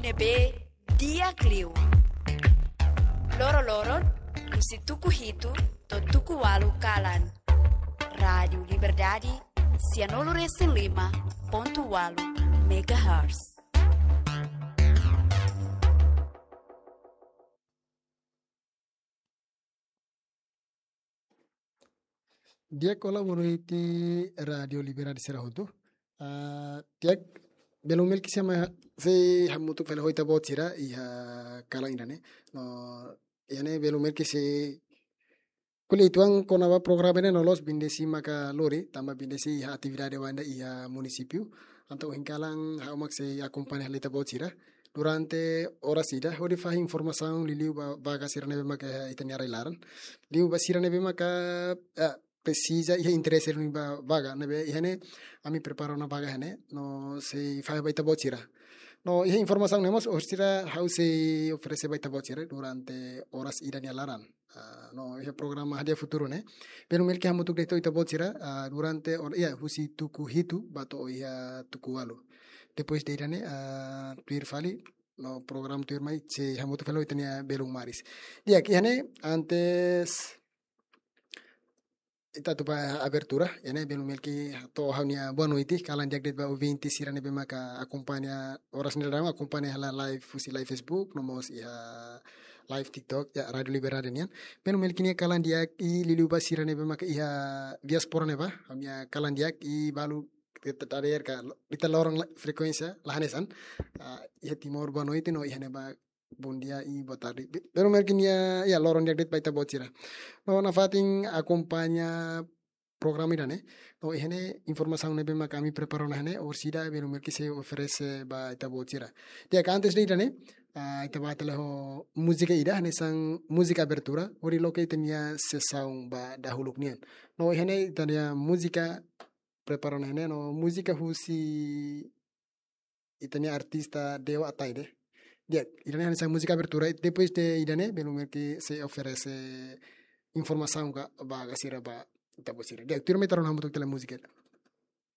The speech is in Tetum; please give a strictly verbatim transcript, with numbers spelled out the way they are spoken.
ne'ebé di'ak liu. Loroloron, husi tuku hitu to'o tuku ualu kalan. Rádiu Liberdade, sianulu resin lima pontu ualu megahertz. Di'ak, olá, boa noite, Rádiu Liberdade sira hotu. Ah, di'ak, belun Melki, sei mai ha-, sei hamutuk fali ho ita-boot sira iha kalan ida-ne'e. No, iha ne'e belun Melki sei ko'alia uitoan kona-ba programa ne'e no loloos bindesi maka lori, tanba bindesi iha atividade ida iha munisípiu. Entaun ohin kalan ha'u mak sei akompaña hela ita-boot sira durante oras ida, hodi fahe informasaun liuliu ba vaga sira ne'ebé maka iha ita-nia rai-laran. Liu ba sira ne'ebé maka, eh, presiza iha interese duni ba vaga ne'ebé iha ne'e, ami prepara ona vaga iha ne'e, no sei fahe ba ita-boot sira. No iha informasaun ne'e mós orsida ha'u sei oferese ba ita-boot sira durante oras ida nia laran. Ah, no iha programa Hadi'a Futuru ne'e, belun Melki hamutuk de'it ho ita-boot sira, ah, durante or-, iha husi tuku hitu ba to'o iha tuku ualu. Depois de ida-ne'e, ah, tuir fali, no programa tuirmai sei hamutuk fali ho ita-nia belun Maris. Di'ak, iha ne'e antes ita atu ba abertura, iha ne'e belun Melki hato'o ha'u-nia boa noite, kalan di'ak de'it ba ouvinte sira ne'ebé maka akompaña oras ne'e daudaun, akompaña hela live husi live Facebook, no mós iha live TikTok, ya, Rádiu Liberdade nian. Belun Melki nia kalan di'ak, i liuliu ba sira ne'ebé maka iha diáspora ne'ebá, ha'u-nia kalan di'ak, i balu ita tader ka lo-, ita loron la-, frekuénsia la hanesan. Ah, iha Timor boa noite, no iha ne'ebá bom dia i boa tarde. Be-, belun Melki nia, ya, loron di'ak de'it ba ita-boot sira. No nafatin akompaña programa ida-ne'e, no iha ne'e informasaun ne'ebé maka ami prepara ona iha ne'e, orsida belun Melki sei oferese ba ita-boot sira. Di'ak, antes de ida-ne'e, ah, ita bá tele ho múzika ida, hanesan múzika abertura, hodi loke ita-nia sesaun ba dahuluk nian. No iha ne'e ita-nia múzika prepara ona iha ne'e, no múzika husi ita-nia artista Deo Ataide. Di'ak, ida-ne'e hanesan múzika abertura, i depois de ida-ne'e, belun Melki sei oferese informasaun ka vaga sira ba ita-boot sira. Di'ak, tuirmai ita rona hamutuk tele múzika.